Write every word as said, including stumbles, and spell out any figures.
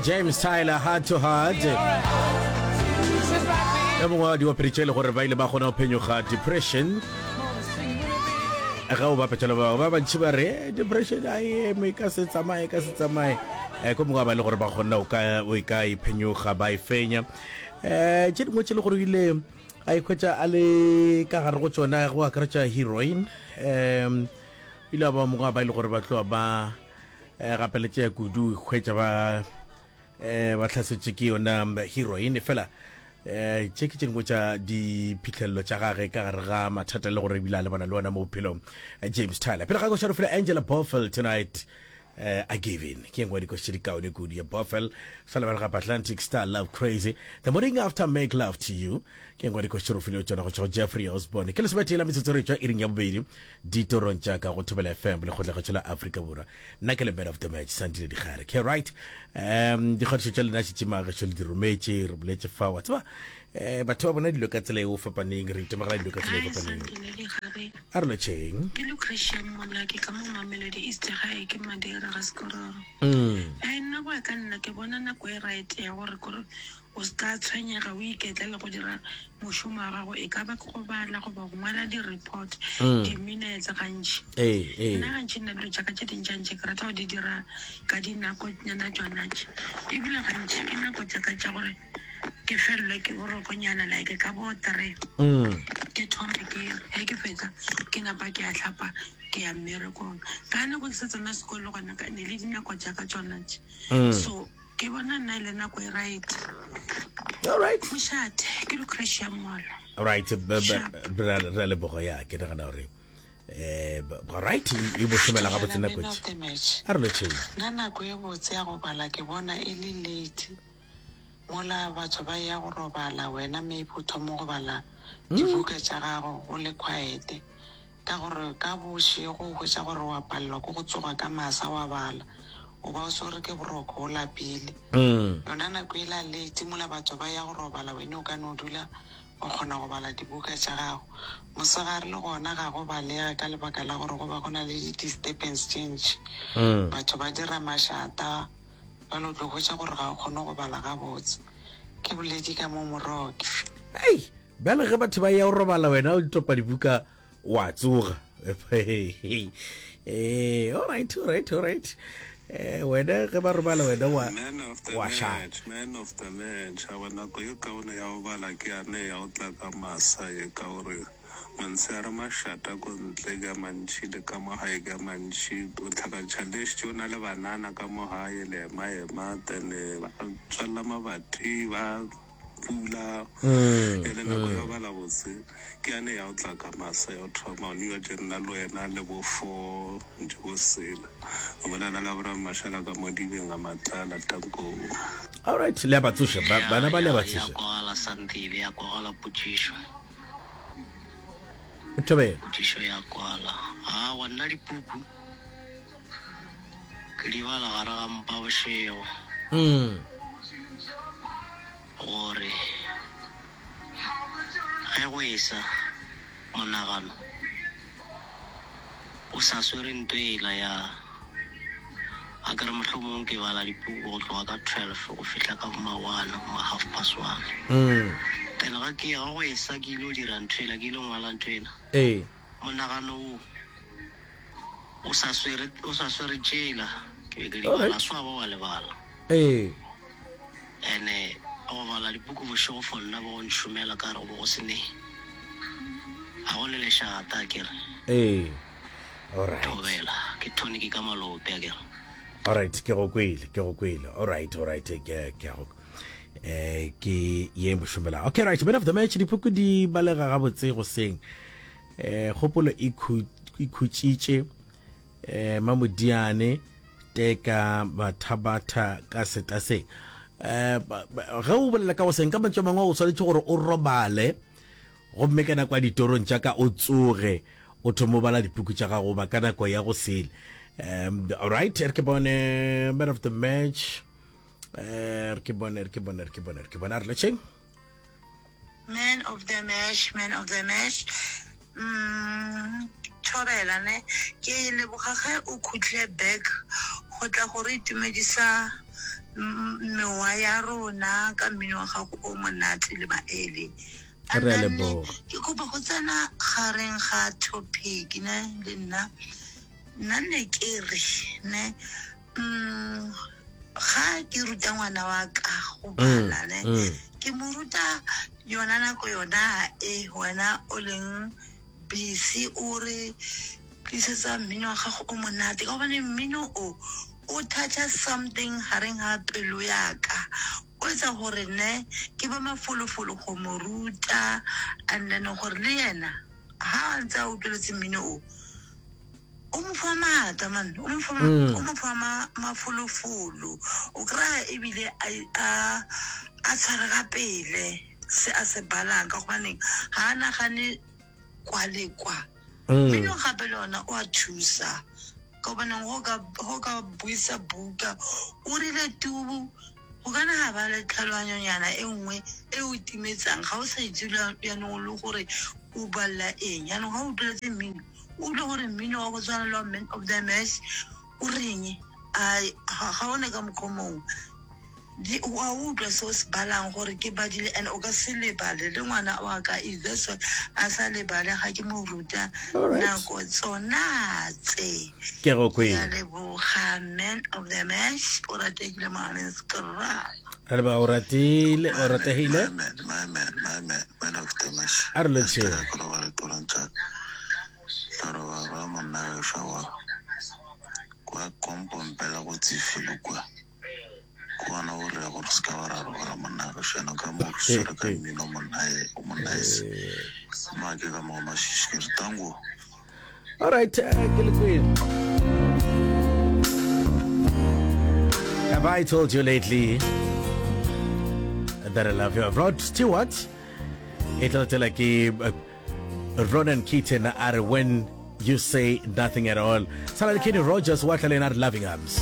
James Tyler, Heart to Heart. Yo mongwe wa diopedi tše e le gore ba ile ba kgona go phenyoga depression. Ge o bapetša le ba bangwe ba bantši ba re eh, depression a e eme ka se tsamaye ka se tsamaye. Eh, ko mongwe wa ba e le gore ba kgona o ka o e ka e phenyoga ba e fenya. Eh, tše dingwe tše e le gore o ile a ikhwetša a le ka gare go tšona go akaretša heroin. Um ile a ba mongwe wa ba e le gore ba tloga ba eh, gapeletšea kudu hwetša ba eh, ba hlasetše ke yona heroin. Fela eh, tše ke tše dingwe tša diphihlelelo tša gage ka gare ga mathata le gore ebile a lebana le ona mo bophelong. eh, James Tyler pele ga koša re file Angela Boffel tonight. uh, I Give In ke engwe dikoši tše di kaone kudu ya Boffel. Sa lebale gape Atlantic Star, Love Crazy, The Morning After, Make Love to You ke engwe dikoši tše re file tšona go tšwa go Jeffrey Osborne. Ke lesometee la metsotso re tšwa iring ya bobedi ditorong tša ka go Thobela F M lekgotlakgatšo la Afrika Borwa. Nna ke le man of the match Sandile Dikgare ke right. um dikgatišo tša lena šetše magešo le di rometše, re boletše fa wa tseba um batho ba bona dilo ka tsela e o fapaneng, re itemogela dilo ka tsela e Hi fapaneng. Sandile Dikgare, A re lotšheng. Ke Lucretia Mmolaki ka mo Mamelodi East gae ke Madeira ga Sekororo. mm. Ai nna go ya ka nna ke bona nako e right ya gore kore o se ka tshwenyega o iketlele go dira mošomo wa gago, e ka ba ke go bala goba go ngwala di-report, Mm. di-minutes gantši. Ee ee Nna gantši nna dilo tša ka tše dintšantši ke rata go di dira ka dinako nyana tšona tše, ebile gantši ke nako tša ka tša gore ke felelwe ke borokonyana like ka bo three, mm. ke thome ke ge ke fetsa ke napa ke a hlapa ke ya mmerekong. Ka nako ke sa tsena sekolo gona ka ne le dinako tša ka tšona tše, Mm. so ke bona nna e le nako e right. All right. Mošate ke Lucretia Mola. Right, b- b- Sharp. re re a leboga. Ya ke nagana gore eh b- right e bo šomela gabotse Dumela nako man of tše. the match. A re lotšheng. Nna nako e botse ya go bala ke bona e le late. Mola batho ba ya go robala, wena maybe o thoma go bala dibuka tša gago go le quiet. Ka gore ka bošego o hwetša gore wa palelwa ke go tsoga ka masa wa bala. O ba o swere ke boroko o lapile. mm. Yona nako e la late mola batho ba ya go robala, wena o ka no dula o kgona go bala dibuka tša gago. Mosegare le gona ga go balege ka lebaka la gore go ba go na le di-disturbance tše ntši. Mm. Batho ba dira mašata, jalo o tlo hwetša gore ga o kgone go bala gabotse. Ke boledi ka mo Moroke. Ei, bjale ge batho ba ya go robala wena o topa dibuka wa tsoga. Eh, all right, all right, all right. Eh, wena ge ba robala wena wa Man of the wa šala. match, man of the match. Awa nako ye kaone ya go bala ke yane ya go tla ka masa ye, ka gore mantshehare mašata ko ntle ke a mantši, le ka mo gae ke a mantši. O tlhakantšha le šetše o na le banana ka mo gae, le ema ema, then eh, ba tswalela mabati, ba pula. mm, E le nako ya mm. go bala botse ke yane ya go tla ka masa ya go thoma o tše nna le wena le bo four ntše bo sela. O bolela le Abraham Mashala ka mo dibeng a matlala tanko. All right, le a ba tsoša ba, Ya bana ba le a ya ba ya tsoša. kwagala Sandile, ya kwagala potšišo. Thobela. Potšišo ya kwala. Awa nna dipuku ke di bala gare ga mpa bošego mm. gore ge go esa monagano o sa swere nto ela ya a kere mohlomong ke bala dipuku go tloga ka twelve go fihla ka ma one ma half past one. Mm. Then ga ke ya go esa ke ile go dira ntho ela, ke ile go ngwala ntho ela, ee monagano wo o sa swere o sa swere tšela ke be ke di All bala right. swa ba wa lebala. Ee ene go bala dipuku bošego for nna bo go nšomela ka re go bo go se ne ga go le lešata a kere. Ee all right. Thobela ke tonic ka malope a kere. All right, ke go kwele, ke go kwele. All right, all right, ke ke go eh ke ye mošomela. Okay, right, man of the match, dipuku di balega gabotse go seng. Eh kgopolo e khu- e khutšitše eh Mamodiane teka bathabatha ka setaseng. Eh ba- ba- ge o bolela ka go seng ka mantšu a mangwe o swanetše gore o robale gomme ka nako ya ditorong tša ka o tsoge o thome o bala dipuku tša gago ba ka nako ya go sele. Um all right, re ke bone man of the match. Eh re ke bone, re ke bone, re ke bone, re ke bone. A re letšheng. Man of the match, man of the match. Mm, thobela ne ke leboga ge o khutlile back go tla go re itumedisa mm, mewa ya rona ka mmino wa gago o monate le maele. And Re a then, leboga. ke kopa go tsena gareng ga topic ne le nna nna ne ke re ne mm, ga ke ruta ngwana wa ka go bala ne mm. ke mo ruta yona nako yona e wena o leng busy o re tlisetsa mmino wa gago o monate ka gobane mmino o o toucha something gareng ga pelo yaka o etsa gore ne ke ba mafolofolo go mo ruta and then gore le yena ha a ntse a utlweletse mmino o o mo fa maatla man o mo fa Mm. o mo fa ma- mafolofolo o kry-a ebile a a a tshwarega pele se a se balang ka gobaneng ga a nagane kwa le kwa Mm. mmino gape le ona o a thusa ka gobaneng go ka go ka buisa buka o rile tubu go kana ga ba le tlhaloganyonyana e nngwe e o timetsang ga o sa itse le- yaanong o le gore o balela eng yaanong ga o utlweletse mmino o utlwe gore mmino wa go tshwana le wa man of the match o reng ai ga ga one ka mokgwa o mongwe Di- wa utlwa se o se balang gore ke badile and o ka se lebale le ngwana wa ka is that's why a sa lebale ga ke mo ruta Alright. nako tsona tse Ke go ke a kwele. leboga man of the match o rategile mogaleng skra Re leboga o ratile o rategile. My man, my man, my man, man of the match. A re lotšheng. Ke robale torong tša ka. Ka robala ba monna gešo wa kwa kompompela go tsifile kwa. Ke gona o re gore se ka ba ra robala monna gešo ena ka mo re swere ka mmino monna e- monna ese. Ma ke ka mo mashishi ke re tango. All right, eh, ke le kwele. Have I told you lately that I love you? Rod Stewart, e tla latela ke eh, Ronan Keaton a re when you say nothing at all. Sala le Kenny Rogers wa tla le ena a re loving arms.